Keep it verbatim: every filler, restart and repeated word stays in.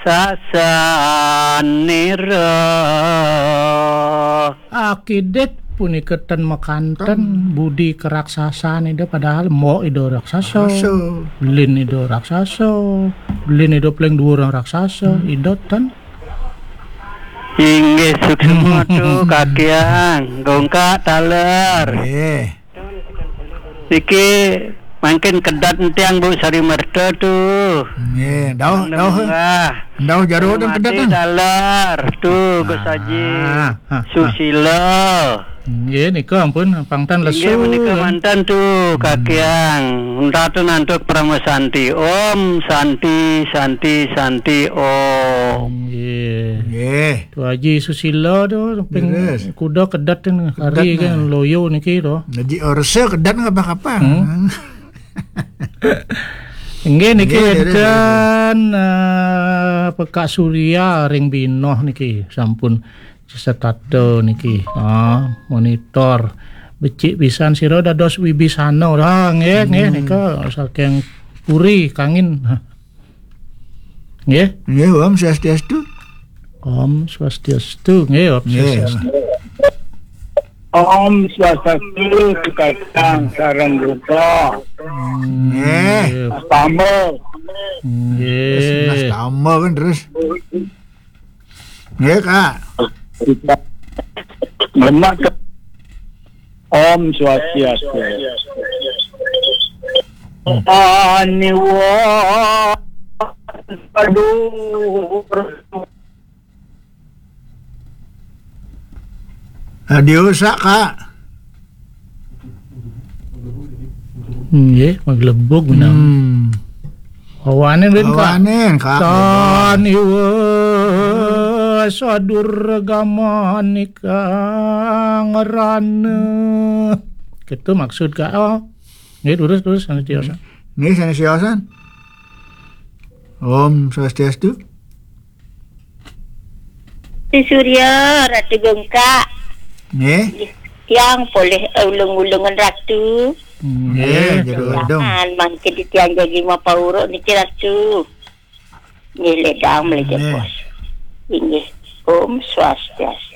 Sasanira. Akidit punika ten makanten budi keraksasaan Ida, padahal mbok Ida raksasa. Raksasa. Lin Ida raksasa. Lin Ida paling dhuwur raksasa. Ida ten. Inggih, suksma tu, Kakiang, gongkak taler. Nggih. Niki mangkin kedat entiang, Bu Sari Merta tu. Nggih, dauh, dauh. Dauh jero dan kedat, mati kan? Taler tu, Gus Haji. Ah, ah, ah. Susila. Nggih, nika ampun, pangtan lesu. Inggih, menika mantan tu, Kakiang. Ratu Nantuk Parama Santi. Om Santi, Santi, Santi, Om. Nggih. Nggih. Tu Haji Susila tu, ping kuda kedat kan, hari kan, loyo niki tu. Jadi orse kedat ngapa-ngapa. Hmm. Nggih, niki enten, eh, Pekak Surya ring Binoh niki, sampun setata niki. Ah, monitor. Becik pisan sira dados wibisana. Ah, nggih, nggih, nika saking Puri, Kangin. Nggih. Nggih, Om Swastiastu. Om Swastiastu. Nggih, Om Swastiastu. Om Swastiastu, Kakang sareng Duta. Nggih. Mas Tamba. Nggih. Terus Mas Tamba kan terus. Nggih, Kak. Lemak. Om Swastiastu. Aniwa. Aduh. Radio sak, Kak. Nggih, maglebug menang. Hmm. Awanen rin, Kak. Awanen, Kak. Tan iwa sadur gamanika ngerana. Gitu maksud, Kak. Oh. Nggih, terus, terus, sanés tiosan. Nggih, sanés tiosan. Om Swastiastu. Si Surya, Ratu Gongkak. Nggih. Tiang polih, eh, ulung-ulungan Ratu. Nggih, jero wedung. Jangan mangkin tiang jagi mapauruk niki Ratu. Nggih, ledang mlejepos. Nggih. Om Swastiastu.